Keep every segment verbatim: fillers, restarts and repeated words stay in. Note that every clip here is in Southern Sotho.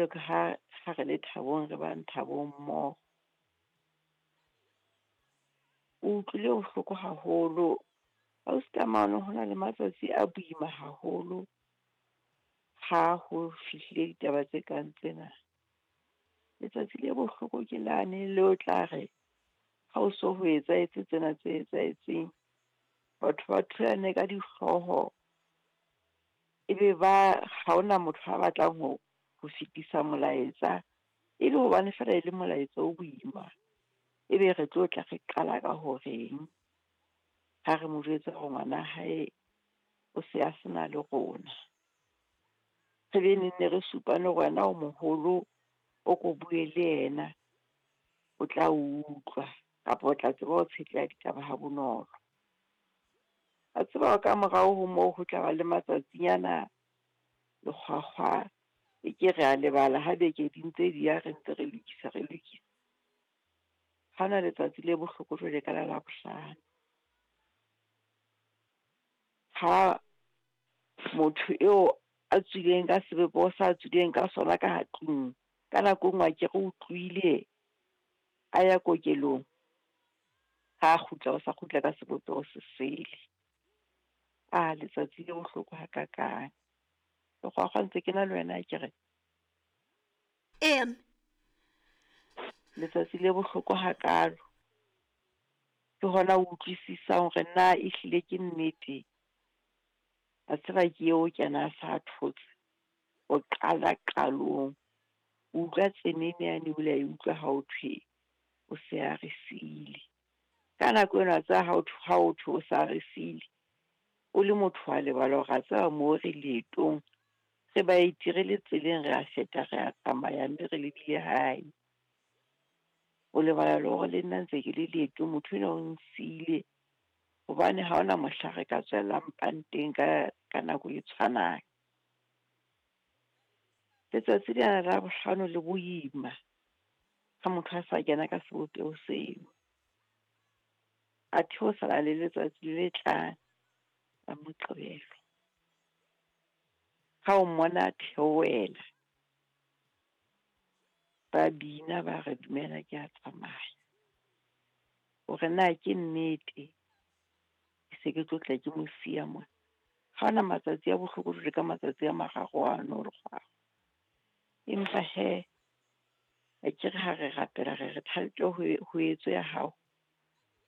Jwalo ka ha ha re le thabong re bang thabong mmoho. O utlwile bohloko haholo. Ausi ka mane ho na le matsatsi a boima haholo ha ho fihlile ditaba tse kang tsena. Letsatsi le bohloko ke lane le o tla re ha o so ho etsahetse tsena tse etsahetseng. Batho ba thulane ka dihlooho, e be ba ha hona motho a batlang ho ho fetisa molaetsa. E le hobane fela e le molaetsa o boima. E be re tlo tla re qala ka ho reng ha re mo jwetsa hore ngwana hae o se a se na le rona. Re be ne nne re supane hore wena o moholo, o ko bue le yena o tla utlwa kapa o tla tseba ho tshetleha ditaba ha bonolo. A tseba ka morao ho moo ho tla ba le matsatsinyana lekgwakgwa e ke re a lebala ha beke di ntse di ya re ntse re lokisa re lokisa. Ha hona letsatsi le bohloko jwale ka la Labohlano. Ha motho eo a tswileng ka sebopeho sa tswileng ka sona ka tlung, ka nako e nngwe akere o tlohile a ya kokelong, ha kgutla o sa kgutla ka sebopeho se sele. Ah letsatsi le bohloko hakakang. Lekgwakgwa ntse ke na le wena akere? Eya mme. Letsatsi le bohloko hakalo. Ke hona o utlwisisang hore na ehlile ke nnete. A tseba ke eo o kena a sa thotse. O qala qalong. O utlwa tsenene yane o ile wa e utlwa ha ho thwe o se a re siile. Ka nako ena wa tseba ha ho ha ho thwe o sa re siile, o le motho wa lebala hore a tseba mo re leetong, re baeti re le tseleng re a feta re a tsamaya mme re lebile hae. O lebala le hore le nna ntse ke le leetong motho enwa o nsiile hobane ha hona mohla re ka tswellang panteng ka ka nako e tshwanang. Letsatsi lena la bohlano le boima ha motho a sa kena ka sebopeho seo. Athe ho sala le letsatsi le tlang la Moqebelo. Ha o mmona a theohela, ba bina ba re dumela ke a tsamaya. Hore na ke nnete, ke se ke tlo tla ke mo siya mona. Ha hona matsatsi a bohloko jwalo ka matsatsi a mararo ano lekgwakgwa. Empa hee akere ha re rapela re re thato ho ho etswe ya hao.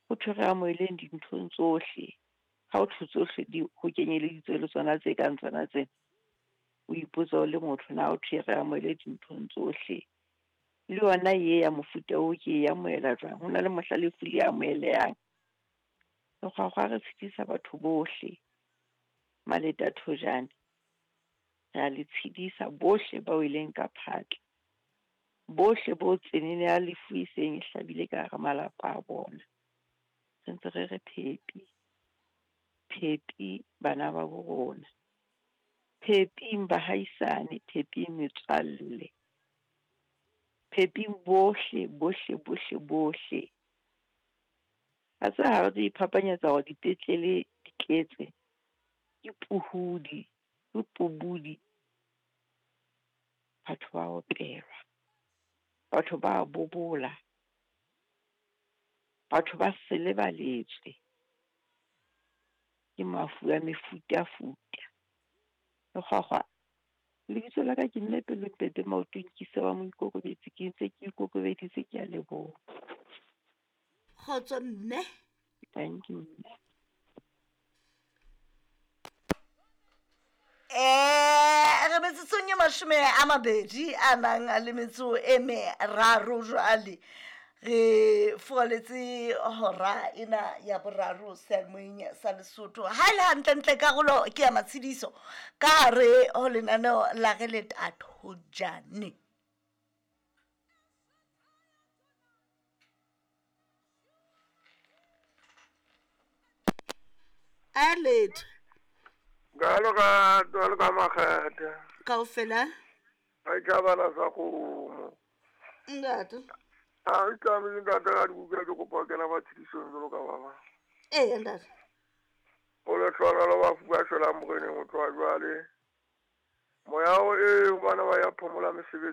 Ho thwe re amoheleng dinthong tsohle. Ha ho thwe tsohle di ho kenyeleditswe le tsona tse kang tsona tsena. O ipotsa o le motho na ho thwe re amohele dinthong tsohle. Le yona ye ya mofuta oo ke e amohela jwang? Ho na le mohla lefu le amohelehang. Lekgwakgwa re tshedisa batho bohle. Maleta thojane, re a le tshedisa bohle ba weleng ka phatla. Bohle bo tsenene ya lefu e seng e hlabile ka hara malapa a bona. Re ntse re re phepi, phepi bana ba bo rona. Pheping bahaisane, pheping metswalle. Pheping bohle, bohle, bohle, bohle. A tseba ha re tlo iphapanyetsa hore dipetlele di tletse, ke puhudi, ke pobodi. Batho ba opelwa, batho ba bobola, batho ba selebaletswe ke mafu a mefutafuta. Lekgwakgwa, lebitso la ka ke mme Pelontle maotong ke se wa moikokobetsi, ke ntse ke ikokobeditse, ke a leboha. Kgotso mme. Thank you. Eh re metsotsong e mashome a mabedi a nang le metso e meraro jwale re furaletse hora ena ya boraro seyalemoyeng sa Lesotho. Ha e le hantlentle karolo ke ya matshediso ka hare ho lenaneo la re le tathojane. A letho. Jwalo ka jwalo ka makgethe. Kaofela. A itjhabana sa kgomo. Ntate. A itlamele ntate ka dibuka ke kopa ho kena matshedisong jwalo ka ba bang. Ee ntate. O lehlohonolo bafu ba shwelang moreneng ho tloha jwale. Moya o e bana ba ya phomola mesebetsi.